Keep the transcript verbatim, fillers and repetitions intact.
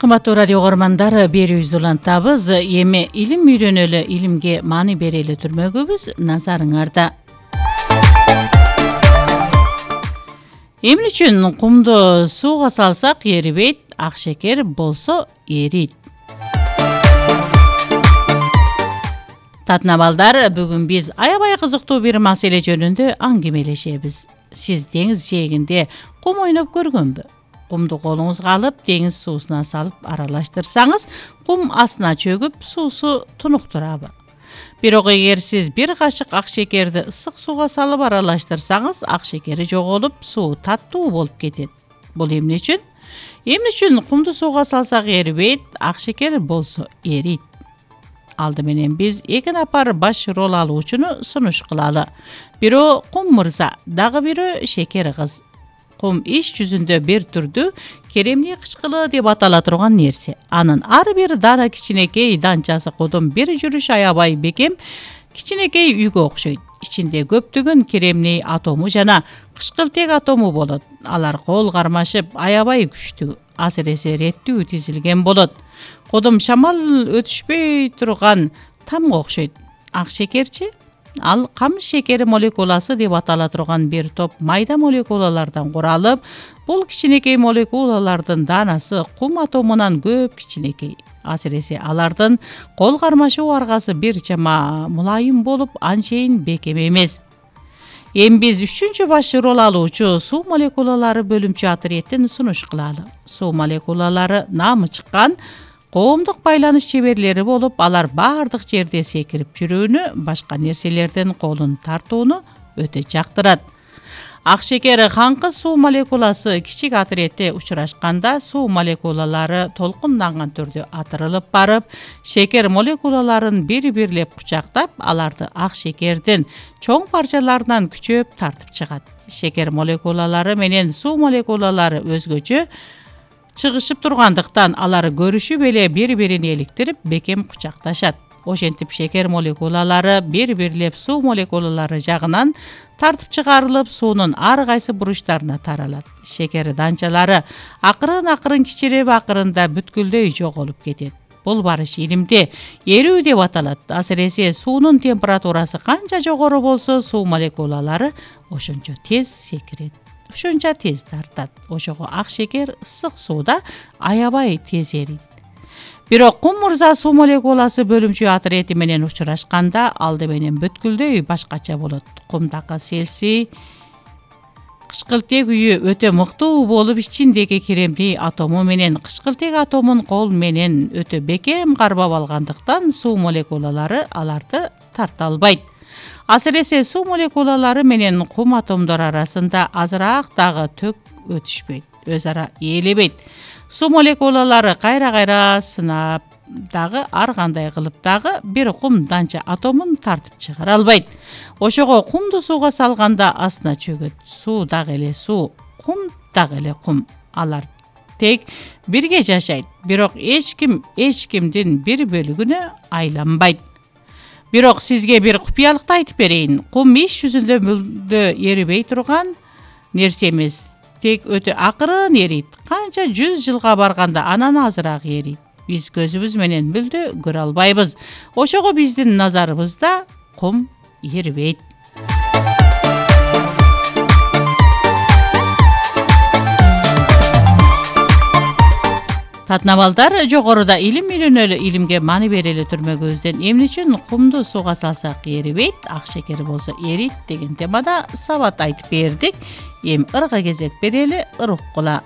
Кымбаттуу радио көрөрмандар, берүүбүздү улантабыз. Эми илим үйрөнөлү, илимге маани берели түрмөгүбүз назарыңарда. Эмне үчүн кумду сууга салсак эрибейт, ак шекер болсо эрийт? Татнабалдар, бүгүн биз аябай кызыктуу бир маселе жөнүндө аңгемелешебиз. Сиз деңиз жээгинде кум ойноп көргөнбү? Кумду колуңузга алып, деңиз суусуна салып аралаштырсаңыз, кум астына чөгүп, суусу тунуктурабы? Бирок эгер сиз бир кашык ак шекерди ысык сууга салып аралаштырсаңыз, ак шекери жоголуп, суу таттуу болуп кетет. Бул эмне үчүн? Эмне үчүн кумду сууга салсак эрибейт, ак шекер болсо эрийт? Алды менен биз эки напар баш рол алуучуну сунуш кылалы. Бирөө кум мырза, дагы бирөө шекер кыз. Кум иш жүзүндө бир түрдүү керемдий кычкылы деп атала турган нерсе. Анын ар бир дана кичинекей данчасы кудум бир жүрүш аябай бекем кичинекей үйгө окшойт. Ичинде көптөгөн керемний атому жана кычкылтек атому болот. Алар кол кармашып аябай күчтүү, асыресе реттүү тизилген болот. Кудум шамал өтүшпөй турган тамга окшойт. Ак шекерчи? Ал камыш шекери молекуласы деп атала турган бир топ майда молекулалардан куралып, бул кичинекей молекулалардын данасы кум атомунан көп кичинекей. Асыресе алардын кол кармашуу аргасы бир чама мулайым болуп, анчейин бекем эмес. Эми биз үчүнчү баш рол алуучу суу молекулалары бөлүмчү отрядтен сунуш кылалы. Суу молекулалары наамы чыккан коомдук байланыш чеберлери болуп, алар баардык жерде секирип жүрүүнү, башка нерселерден колун тартууну өтө жактырат. Ак шекер хаңкы суу молекуласы кичик отрядте учурашканда, суу молекулалары толкунданган түрдө атырылып барып, шекер молекулаларын бири-бирлеп кучактап, аларды ак шекердин чоң парчаларынан күчөп тартып чыгат. Шекер молекулалары менен суу молекулалары өзгөчө чыгышып тургандыктан алар көрүшүп эле бири-бирин эликтирип бекем кучакташат. Ошентип шекер молекулалары бири-бирлеп суу молекулалары жагынан тартып чыгарылып, суунун ар кайсы буручтарына таралат. Шекер данчалары акырын-акырын кичирип, акырында бүткүлдөй жоголуп кетет. Бул барыш илимде эрүү деп аталат. Асыресе суунун температурасы канча жогору болсо, суу молекулалары ошончо тез секирет. Ошонча тез тартат. Ошого ак шекер ысык сууда аябай тез эрийт. Бирок кум мырза суу молекуласы бөлүмчү отряди менен учурашканда, алды менен бүткүлдөй башкача болот. Кумдагы селси кычкылтек үйү өтө мыктуу болуп, ичиндеги керемдий атому менен кычкылтек атомун кол менен өтө бекем кармап алгандыктан, суу молекулалары аларды тарта албайт. Асыресе суу молекулалары менен кум атомдор арасында азыраак дагы төк өтүшпөйт, өз ара ээлебейт. Суу молекулалары кайра-кайра сынап дагы ар кандай кылып дагы бир кум данча атомун тартып чыгара албайт. Ошого кумду сууга салганда астына чөгөт. Суу дагы эле суу, кум дагы эле кум. Алар тек бирге жашайт, бирок эч ким эч кимдин бир бөлүгүнө айланбайт. Бирок сизге бир купуялыкты айтып берейин. Кум иш жүзүндө мүлдө эрибей турган нерсе эмес. Тек өтө акырын эрийт. Канча жүз жылга барганда анан азыраак эрийт. Биз көзүбүз менен мүлдө көрө албайбыз. Ошого биздин назарыбызда кум эрибейт. Татнабалдар, жогоруда илим үйрөнөлү, илимге маани берели түрмөгүбүздөн эмне үчүн кумду сууга салсак эрибейт, ак шекер болсо эрийт деген темада сабат айтып бердик. Эми ырга кезек берели, ыр уккула.